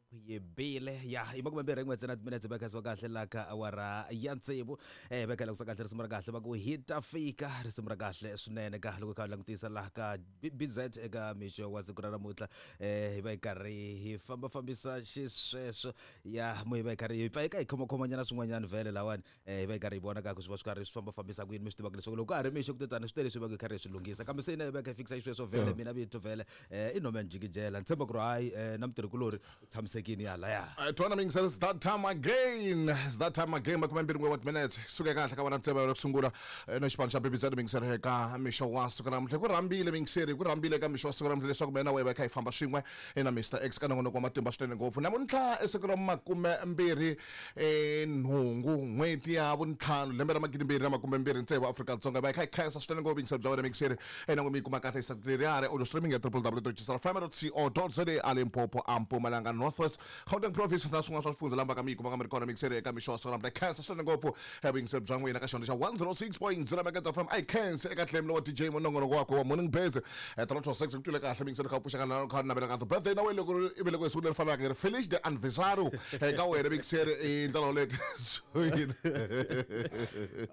Yi bile ya i makumembirhi n'we ntsena timinetse va khaziwa kahle la ka awara ya tsevu va kha langutisa kahle risimu ra kahle va ku hi ta fika risimu ra kahle swinene ka loko hi kha hi langutisa laha ka BBZ eka mixo wa siku ra namuntlha hi va hi karhi hi fambafambisa xisweswo ya mo hi va hi karhi hi pfa hi ka hi khomakhomanyana swin'wanyana vhele lawani hi va hi karhi hi vona ka ku swi va swi karhi swi fambafambisa ku yini mi swi tivaka leswaku loko ka ha ri mixo ku tetani swi tele leswi va hi karhi hi swi lunghisa kambe se hina hi va hi kha hi fikisa xisweswo vhele mina vito vhele i Norman Jikijela ni tshemba ku ri hayi na mutirhikulorhi u tshamisekile yalaya. Twana mingisela, it's that time again. It's that time again. Makume mbirhi n'we wa timinetse. Suke kahle ka vona ntsema yo sungula na xipano xa BBZ mingisela eka mixo wa siku ra namuntlha. Ku rhambile mingiseri, ku rhambile eka mixo wa siku ra namuntlha leswaku mina na wena hi kha hi famba swin'we na Mr X ka nongonoko wa matimba swinene ngopfu. Namuntlha i siku ra makume mbirhi nhungu n'hweti ya vuntlhanu lembe ra magidimbirhi na makume mbirhi tsevu Afrika-Dzonga. Hi va hi kha hi khensa swinene ngopfu yingiselo bya wena mingiseri ena n'we mi yi kuma kahle hi leriyani audio streaming ya www.gsrfm.co.za a Limpopo a Mpumalanga North West Gauteng Province na swin'wana swa swifundzha lamba ka mi yi kumaka mi ri kona mingiseri eka mixo wa siku ra namuntlha. Hi khensa swinene ngopfu vuyingiseri bya n'wina ka xihondzo xa 106.0 Megahertz FM. A hi khensi eka Clem lowa DJ munongonoko wakwe wa Morning Birds 3 to 6 ku twile kahle mingiseri kha u pfuxeka na kha navela ka birthday na wena loko i velekiwe hi siku leri fanaka hi ri Feliz de anniversario eka wena mingiseri i ndlela yoleyo.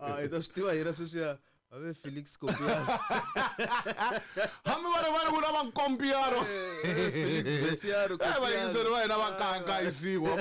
A hi ta swi tiva hina sweswiya ave Felix Kompiano. Hambi va ri va ri ku na va Nkompiano. Felix Vesiano. Vayingiseri va hina va kangayisiwa.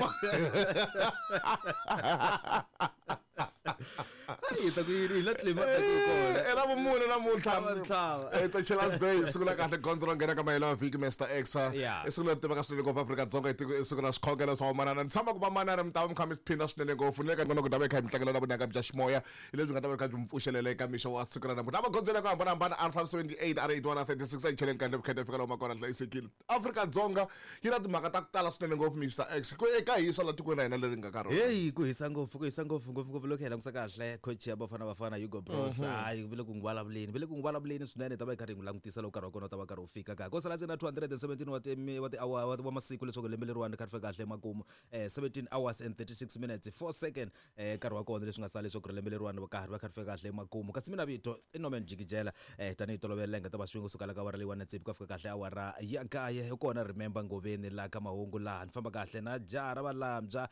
Hi ta ku yini hi la tlema ta ku kona. I ra vumune namuntlha. Tlhava. It's a Chilla's Day, siku la kahle gondzo ro nghena ka mahelo ya vhiki Mr X. Yeah. I siku leri tiveka swinene ngopfu Afrika-Dzonga i tiko i siku ra swikhongelo swa vamanana. Ni tshama ku vamanana mi ta va mi kha mi phinda swinene ngopfu ni le ka nongonoko ta va hi kha hi mi tlangela na vunanga bya ximoya hi lebyi nga ta va kha byi mi pfuxelela eka mixo wa siku ra namuntlha. Magondzweni ya ku hambanahambana R578 R81 R36 a yi cheleni kahle vukheta fika lomu kona hlayisekile. Afrika-Dzonga yi na timhaka ta ku tala swinene ngopfu Mr X ku eka hisa la tikweni ra hina leri nga ka rona. Heyi ku hisa ngopfu ku hisa ngopfu ngopfungopfu loko hi langutisa kahle coach ya Bafana Bafana Hugo Broos hayi ve le ku n'wi vulavuleni ve le ku n'wi vulavuleni swinene hi ta va hi karhi hi n'wi langutisa loko nkarhi wa kona wu ta va karhi wu fika ka ko sala ntsena 217 wa ti wa ti wa wa masiku leswaku lembe leriwani ri kha ri fika kahle emakumu 17 hours and 36 minutes 4 second nkarhi wa kona leswi nga sala leswaku ri lembe leriwani va karhi va kha ri fika kahle emakumu kasi mina vito i Norman Jikijela tanihi tolovela la hi nga ta va swin'we kusuka la ka awara leyiwani na tsevu ku ya fika kahle awara ya kaye hi kona remember Ngoveni la ka mahungu laha ni famba kahle na jaha ra valambya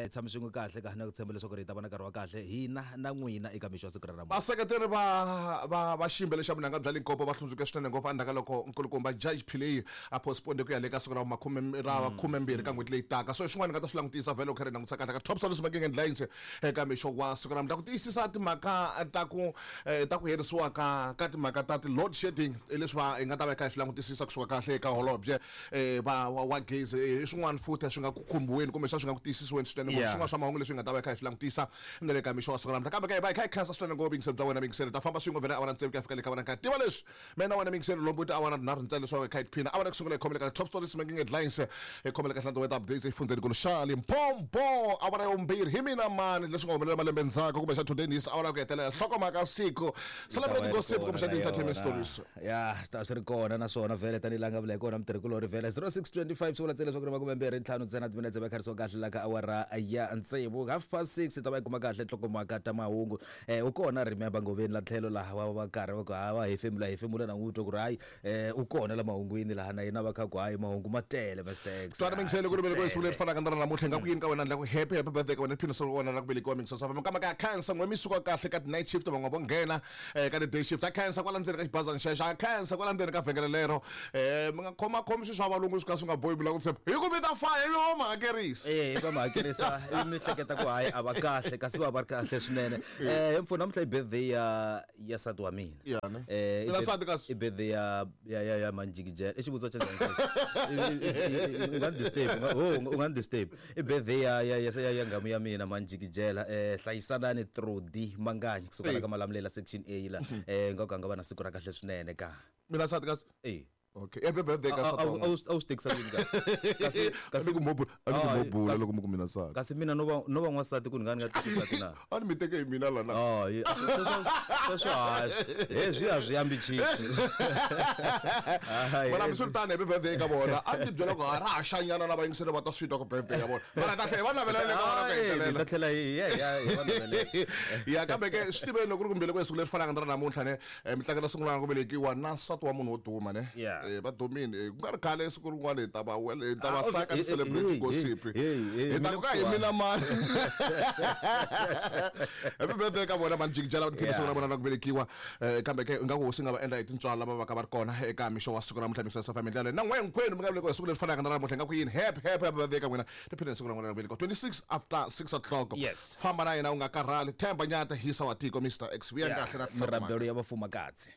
tshami swin'we kahle ka na ku tshemba leswaku ri hi ta va na nkarhi wa kahle hina na n'wina eka mixo wa siku ra namuntlha. Vaseketeri va va va xiyimbeleri xa vunanga bya Limpopo va hlundzuke swinene ngopfu endzhaku ka loko nkulukumba Judge Pillay a postpone ku ya le ka siku ra makhume ra khumembirhi ka n'hweti leyi taka. So swin'wana ni nga ta swi langutisa vhele loko kha ri langutisa kahle ka Top Stories Making Headlines eka mixo wa siku ra namuntlha ku tiyisisa timhaka ta ku ta ku herisiwa ka ka timhaka ta ti-load shedding hi leswi va hi nga ta va hi kha hi swi langutisisa kusuka kahle eka holobye va wa gezi i swin'wana futhi swi nga ku khumbiweni kumbe swi nga ku tiyisisiweni swinene ngopfu. Swin'wana swa mahungu leswi hi nga ta va hi kha hi swi langutisa na le ka mixo wa siku ra namuntlha kambe ka hi va hi kha hi khensa swinene ngopfu yingiselo bya wena miyingiselo ta famba swin'we vhele awara tsevu ku ya fika le ka vona nkarhi tiva leswi mina na wena miyingiselo lombo ti awara tinharhu ntsena leswaku hi kha hi tiphina awara ku sungula hi khomele ka top stories making headlines hi khomele ka hlantswa weather updates exifundzeni nkulu xa Limpopo awara ya vumbirhi hi mina mani leswi nga humelela malembe ndzhaku kumbe xa today news awara ya ku hetelela nhlokomhaka siku celebrate gossip kumbe xa ti-entertainment stories. Ya swi ta swi ri kona naswona vhele tanihi laha nga vula hi kona mutirhikulorhi vhele 0625 swi vula ntsena leswaku ri makumembirhi ntlhanu ntsena timinetse va kharisiwa kahle la ka awara ya tsevu 6:30 hi ta va yi kuma kahle nhlokomhaka ta mahungu u kona remember Ngoveni la tlhelo laha wa va karhi va ku ha wa hefemula hefemula na n'wi twa ku ri hayi u kona la mahungwini laha na yena va kha ku hayi mahungu ma tele Mr X. Twana mingiselo ku ri velekiwa siku leri fanaka na ra namuntlha nga ku yini ka wena ndla ku happy happy birthday ka wena phina swo wena ra ku velekiwa mingiselo swa famba ka khansa n'we mi suka kahle ka night shift van'wana vo nghena ka ti day shift a khansa kwala ndzeni ka xibazana xexo a khansa kwala ndzeni ka vhengele lero mi nga khoma khomi swilo swa valungu swi ka swi nga bohi mi lava ku tshemba hi ku mi ta faya ivi va mi hakerisa. Va mi hakerisa ivi mi hleketa ku hayi a va kahle kasi va va ri kahle swinene. He mfo namuntlha i birthday ya ya nsati wa mina. Ya ne? I Na nsati kasi? I birthday ya ya ya ya Manjikijela. I xivutiso xa njhani xexo? U nga ni disturb, u nga ni disturb. I birthday ya ya ya ya ya nghamu ya mina Manjikijela. Hlayisanani Trudy Manganyi kusuka la ka Malamulele section A la. Nga ku a nga va na siku ra kahle swinene ka. Mina nsati kasi? Eh. Okay. Happy birthday ka nsati wa n'wina. A wu swi tekisa ku yini kasi? Kasi kasi ku mobula, a ni ku mobula loko mi ku mina nsati. Kasi mina no va no va n'wansati ku ni nga ni nga teki nsati na? A ni mi teke hi mina la na. Oh, sweswo hayi. Hezwi a swi ambi chief. Mara hambiswiritano happy birthday ka vona. A ni ti byela ku ha ra ha xanyana na vayingiseri va ta swi twa ku birthday ya vona. Mara kahle hi va navelela le ka vona ku hetelela. Hi ta tlhela hi ya hi va navelela. Ya kambe ke swi tiveni loko ku ri ku mbele ku siku leri fanaka na ra namuntlha ne mi tlangela siku ra ku velekiwa na nsati wa munhu wo duma ne. Yeah. Va dumile. Ku nga ri khale siku rin'wana hi ta va wela, hi ta va Ah, okay. saka Hey, ti-celebrity hey, gossip. hey, hey, hey, Hi ta mi le ku ka hi kusuhani. mina mani. Happy birthday ka vona manjikijela va tiphina siku ra vona ra ku velekiwa. Kambe ke ingaku hosi nga va endla hi tintswalo lava va ka va ri kona eka mixo wa siku ra namuntlha mixo ya family ndlela na n'we hinkwenu mi nga velekiwa hi siku leri fanaka na ra namuntlha ingaku yini happy happy happy birthday ka n'wina tiphina hi siku ra n'wina ra ku velekiwa 26 after 6 o'clock. Yes. Famba na yena u nga karhali. Themba Nyata hisa wa tiko Mr X vuya kahle na Mirabelo ya vafumakadzi.